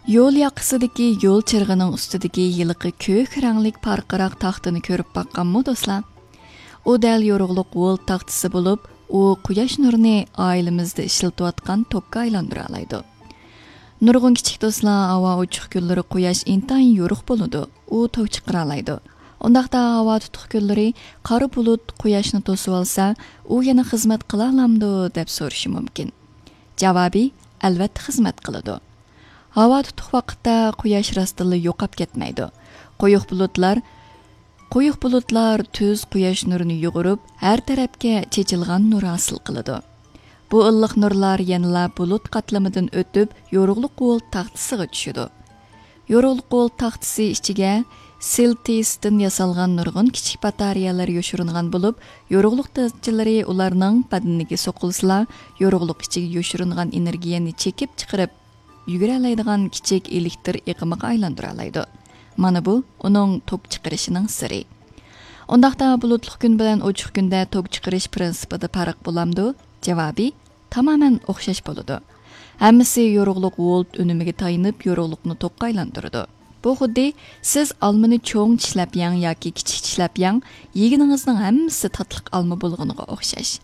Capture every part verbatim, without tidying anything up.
يول ياقىسىدىكى يول چىرىغىنىڭ ئۈستىدىكى ھېلىقى كۆك رەڭلىك پارقىراق تاختىنى كۆرۈپ باققانمۇ، دوستلار؟ ئۇ دەل يورۇقلۇق ۋولت تاختىسى بولۇپ، ئۇ قۇياش نۇرىنى ئائىلىمىزدە ئىشلىتىۋاتقان توكقا ئايلاندۇرالايدۇ. نۇرغۇن كىچىك دوستلار، ھاۋا ئوچۇق كۈنلىرى قۇياش ئىنتايىن يورۇق بولىدۇ، ئۇ توك چىقىرالايدۇ. ئۇنداقتا ھاۋا تۇتۇق كۈنلىرى قارا بۇلۇت قۇياشنى توسۇۋالسا، ئۇ يەنە خىزمەت قىلالامدۇ دەپ سورىشى مۇمكىن. جاۋابى، ئەلۋەتتە خىزمەت قىلىدۇ. ھاۋا تۇتۇق ۋاقىتتا قۇياش راستتىنلا يوقاپ كەتمەيدۇ. قويۇق بۇلۇتلار، قويۇق بۇلۇتلار تۈز قۇياش نۇرىنى يۇغۇرۇپ، ھەر تەرەپكە چېچىلغان نۇر ھاسىل قىلىدۇ. بۇ ئىللىق نۇرلار يەنىلا بۇلۇت قاتلىمىدىن ئۆتۈپ، يورۇقلۇق ۋولت تاختىسىغا چۈشىدۇ. يورۇقلۇق ۋولت تاختىسى ئىچىگە سىلتىستىن ياسالغان نۇرغۇن كىچىك باتارېيەلەر يوشۇرۇنغان بولۇپ، يورۇقلۇق دەرىجىلىرى ئۇلارنىڭ بەدىنىگە سوقۇلسىلا، يورۇقلۇق ئىچىگە يوشۇرۇنغان ئېنېرگىيەنى چېكىپ چىقىرىپ، يۈگۈرەلەيدىغان كىچىك ئېلېكتر ئېقىمىغا ئايلاندۇرالايدۇ. مانا بۇ ئۇنىڭ توك چىقىرىشىنىڭ سىرى. ئۇنداقتا بۇلۇتلۇق كۈن بىلەن ئوچۇق كۈندە توك چىقىرىش پىرىنسىپىدا پەرق بولامدۇ؟ جاۋابى، تامامەن ئوخشاش بولىدۇ. ھەممىسى يورۇقلۇق ۋولت ئۈنۈمىگە تايىنىپ، يورۇقلۇقنى توكقا ئايلاندۇرىدۇ. بۇ خۇددى سىز ئالمىنى چوڭ چىشلەپ يەڭ ياكى كىچىك چىشلەپ يەڭ، يېگىنىڭىزنىڭ ھەممىسى تاتلىق ئالما بولغىنىغا ئوخشاش.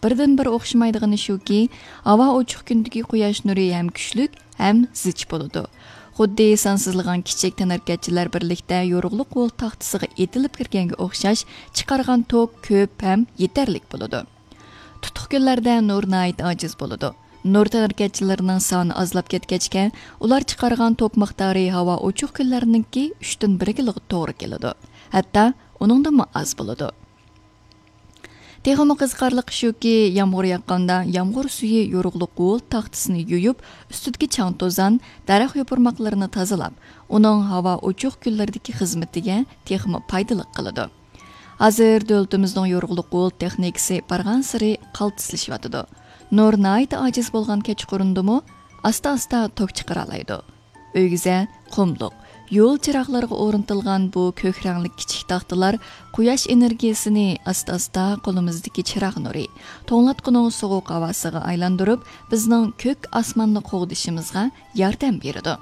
بىردىنبىر ئوخشىمايدىغىنى شۇكى، ھاۋا ئوچۇق كۈندىكى قۇياش نۇرى ھەم كۈچلۈك، ھەم زىچ بولىدۇ. خۇددى سانسىزلىغان كىچىك تەنھەرىكەتچىلەر بىرلىكتە يورۇقلۇق ۋولت تاختىسىغا ئېتىلىپ كىرگەنگە ئوخشاش، چىقارغان توك كۆپ ھەم يېتەرلىك بولىدۇ. تۇتۇق كۈنلەردە نۇر ناھايىتى ئاجىز بولىدۇ. نۇر تەنھەرىكەتچىلىرىنىڭ سانى ئازلاپ كەتكەچكە، ئۇلار چىقارغان توك مىقدارى ھاۋا ئوچۇق كۈنلەرنىڭكى ئۈچتىن بىرىگىلا توغرا كېلىدۇ. ھەتتا ئۇنىڭدىنمۇ ئاز بولىدۇ. تېخىمۇ قىزىقارلىقى شۇكى، يامغۇر ياغقاندا يامغۇر سۈيى يورۇقلۇق ۋولت تاختىسىنى يۇيۇپ، ئۈستىدىكى چاڭ-توزان، دەرەخ يوپۇرماقلىرىنى تازىلاپ، ئۇنىڭ ھاۋا ئوچۇق كۈنلىرىدىكى خىزمىتىگە تېخىمۇ پايدىلىق قىلىدۇ. ھازىر دۆلىتىمىزنىڭ يورۇقلۇق ۋولت تېخنىكىسى بارغانسېرى قالتىسلىشىۋاتىدۇ. نۇر ناھايىتى ئاجىز بولغان كەچقۇرۇندىمۇ ئاستا-ئاستا توك چىقىرالايدۇ. ئۆگزە، قۇملۇق، يول چىراغلىرىغا ئورنىتىلغان بۇ كۆك رەڭلىك كىچىك تاختىلار قۇياش ئېنېرگىيەسىنى ئاستا-ئاستا قولىمىزدىكى چىراغ نۇرى، توڭلاتقۇنىڭ سوغۇق ھاۋاسىغا ئايلاندۇرۇپ، بىزنىڭ كۆك ئاسماننى قوغدىشىمىزغا ياردەم بېرىدۇ.